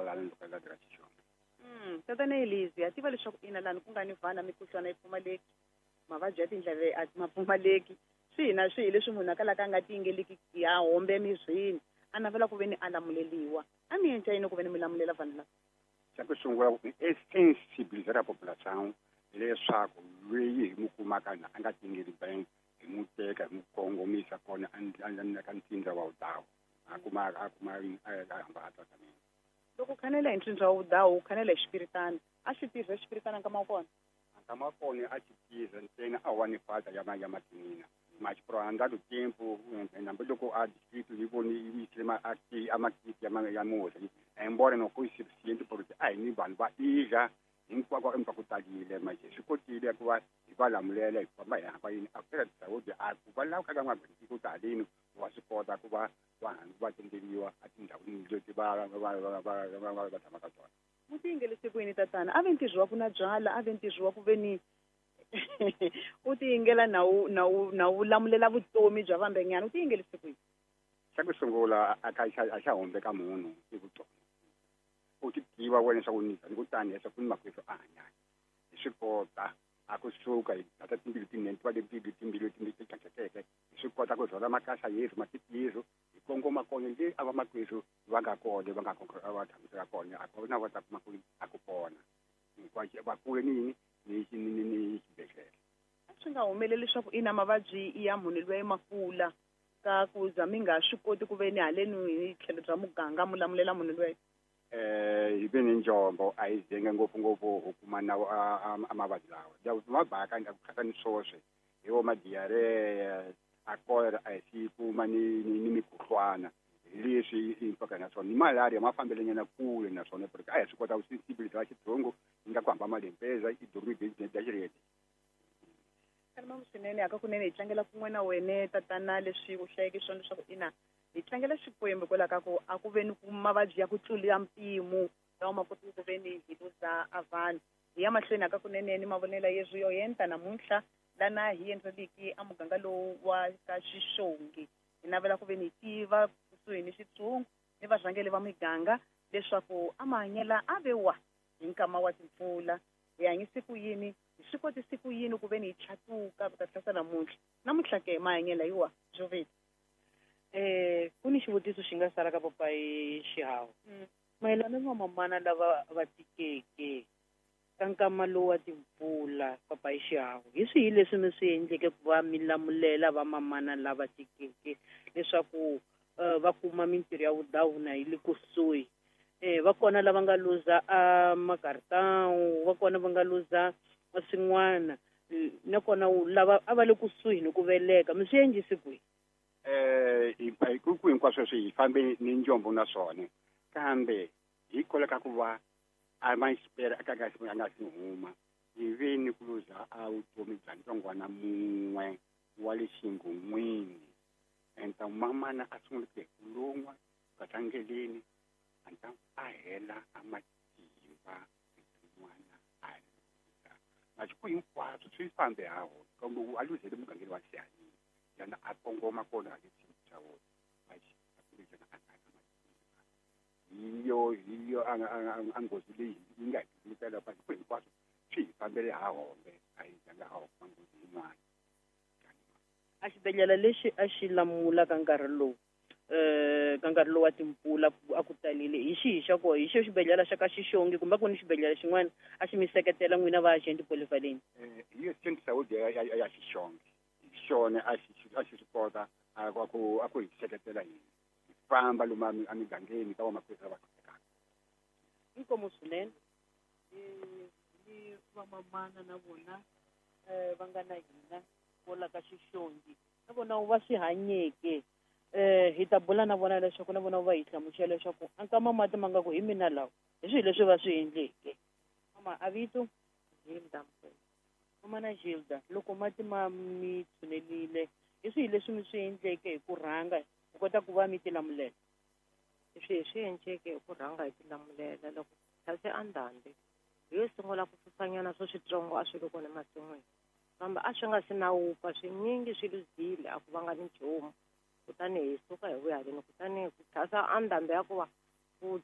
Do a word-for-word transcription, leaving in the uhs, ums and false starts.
lana loko la ka Xixongi. Mm, tatana Elisi, ha tiva leswaku ina lani ku nga ni vana mikhuhlwana yi pfumaleki, mavabyi ya tindleve a ma pfumaleki, swihi na swihi leswi munhu a kalaka a nga tiyingeliki ya hombe emirini, a navela ku ve ni a lamuleliwa. A mi endla yini ku ve ni mi lamulela vanhu lava? Xa ku sungula i sensibilizar a população leswaku loyi hi n'wi kumaka a nga tiyingeli bem hi n'wi teka hi n'wi kongomisa kona a ka ntsindza wa vudawu a kuma a kuma a hamba a tsakamile. Loko u khanela hi ntsindza wa vudawu u khanela hi xipiritana, a xi tirha xipiritana nkama wa kona? Nkama wa kona a xi tirha ntsena a wa ni falta ya ya makinina mas por andar do tempo hambiloko a distrito yi voni yi yisile a makiti ya ya murhi embora não foi suficiente porque a hi ni vanhu va idla hinkwako empa ku talile manje swi kotile ku va hi va lamulela hi famba hi hamba yini a feira de saúde a ku va lava ka ku talini wa swi kota ku va vanhu va tendeliwa etindhawini leti va va va va va va tshamaka tona. Mu tiyingelise ku yini tatana? A ve ntirho wa ku na byala, a ve ntirho wa ku ve ni u tiyingela na wu na wu na wu lamulela vutomi bya vambenyana, u tiyingelise ku yini? Xa ku sungula a ka a xa hombe ka munhu i vutomi. U ti tiva wena leswaku ni ni ku tani leswaku ni makwerhu a hanyaka hi swi kota a kusuka hi tata timbilu tinene ti va leti timbilu ti tlakukeke hi swi kota ku rhwala makasa yesu matiti yesu hi kongoma kona le a va makwerhu va nga kona va nga va tshamiseka kona a kona va ta kuma ku a ku pona hinkwaswo va kule ni yini ni ni ni xibedhlele. A swi nga humeleli leswaku ina mavabyi ya munhu loyi ma kula ka ku za mi nga swi koti ku ve ni haleni hi tlhelo bya muganga mu lamulela munhu loyi? Eh hi ve ni njombo a hi zenga ngopfungopfu ho kuma na a mavabyi lawa mabaka a ku khatha ni swoswe hi wo ma-diarrhea a cholera a hi si kuma ni ni mikhuhlwana hi leswi impaka na swona ni malaria ma fambelenyana kule na swona porque a hi swi kota ku sensibilizar xitsongo yi nga ku hamba malempeza i dormir da direito. Kalama swinene akakunene hi tlangela kun'we na wene tatana leswi u hlayeke swona leswaku ina hi tlangela Xikwembu hikwalaho ka ku a ku ve ni ku mavabyi ya ku tlula mpimo lawa ma kotiki ku ve ni hi luza a vanhu. Hi ya mahlweni akakunene ni mavonelo yeswi yo yenta namuntlha lana hi endleliki a muganga lowu wa ka Xixongi. Hi navela ku ve ni tiva kusuhi ni xitshungu ni varhangeli va miganga leswaku a mahanyela a ve wa hi nkama wa timpfula, hi hanyise ku yini, hi swi kotise ku yini ku ve ni hi tlhatuka ku ta tlhasa namuntlha. Namuntlha ke mahanyela hi wa Jovita. Eh ku ni xivutiso xi nga sala ka papayi Xihawu. Mayelana ni vamamana lava va tikeke ka nkama lowu wa timpfula papayi Xihawu, hi swihi leswi mi swi endleke ku va mi lamulela vamamana lava tikeke leswaku va kuma mintirho ya vudawu na yi le kusuhi? Eh va kona lava nga luza a makaritawu, va kona va nga luza swin'wana, nakona lava a va le kusuhi ni ku veleka, mi swi endlise kwihi? Eh hi ku hinkwaswo sweswi hi fambe ni njombo na swona kambe hikwalaho ka ku va a ma xipela a ka a nga si huma hi ve ni ku luza a vutomi bya ntsongwana mun'we wa le xingon'wini. Enta mamana a sungule ku ku lun'wa katlangeleni anta a hela a matimba n'wana a luza masiku hinkwaswo swi fambe ha wona kambe a luzele mugangeni wa Xihanini yana a kongoma kona le xa wona a nga na matimba hi yo hi yo a nghozi leyi yi nga hi fikela masiku hinkwaswo swi hi fambele ha hombe a hi zanga ha kuma nghozi yin'wana. A xibedhlele lexi a xi lamula ka nkarhi lowu eh ka nkarhi lowu wa timpfula a ku talile hi xihi xa kona? Hi xo xibedhlele xa ka Xixongi kumbe ku ni xibedhlele xin'wana a xi mi seketela n'wina va agent polyvalent? Eh hi yo centre saúde ya ya Xixongi xona a xi a xi swi kota a ku a ku hi seketela hina hi famba lomu emigangeni ka vamakwerhu lava hluphekaka. Inkomu swinene ni vamamana na vona va nga na hina vola ka Xixongi na vona va swi hanyeke. Eh hi ta bula na vona leswaku na vona va hi hlamusela leswaku a nkama mati ma nga ku hi mina lawa hi swihi leswi va swi endleke. Mama a vito Gilda Mkwena. Mama na Gilda, loko mati ma mi tshunelile hi swihi leswi mi swi endleke hi ku rhanga ku kota ku va mi tilamulela? Leswi hi swi endleke hi ku rhanga hi tilamulela loko tlhase a ndhambi hi yo sungula ku susanyana swo switsongo a swi ri kona emasin'wini kambe a swi nga si na wupfa swinyingi swi luzile a ku vanga ni nchumu. Kutani hi suka hi vuya haleni kutani ku tlhasa a ndhambi ya ku va ku